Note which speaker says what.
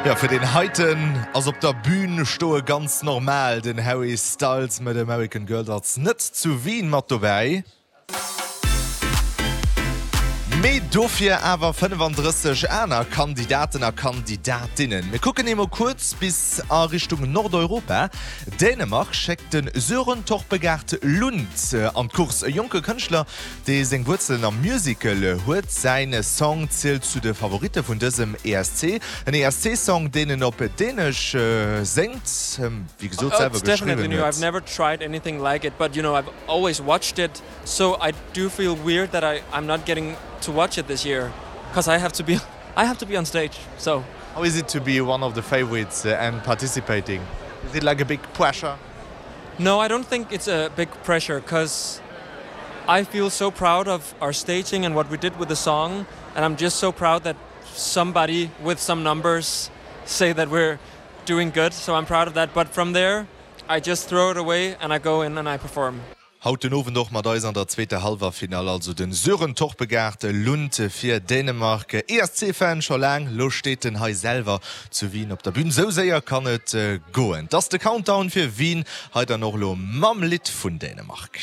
Speaker 1: Jo, fir deen heiten ass op der Bühn stoe ganz normal. Den Harry Styles mat American Girl ass net zu Wien mat dobäi. Mee dofir awer 35 aner Kandidaten a Kandidatinnen. Mir kucken eemol kuerz bis a Richtung Nordeuropa. Dänemark schéckt de Sören Torpegaard Lund an d'Course. E jonke Kënschtler, dee seng Wuerzelen am Musical huet. Säin Song zielt zu de Favoritte vun dësem ESC. En ESC-Song, deen en op Dänesch séngt, wéi gesot selwer geschriwwen huet.
Speaker 2: Always watched it so I do feel weird that I I'm not getting to watch it this year cause I have to be I have to be on stage so.
Speaker 1: How is it to be one of the favorites and participating? Is it like a big pressure?
Speaker 2: No, I don't think it's a big pressure cause I feel so proud of our staging and what we did with the song and I'm just so proud that somebody with some numbers say that we're doing good so I'm proud of that but from there I just throw it away and I go in and I perform.
Speaker 1: Haut den Owend och mat eis an der zweeter Hallwerfinall also den Sören Torpegaard Lund fir Dänemark. ESC-Fan scho laang, lo steet en hei selwer zu Wien op der Bühn. Sou séier kann et goen. 't ass de Countdown fir Wien, hei dann och lo mam Lidd vun Dänemark.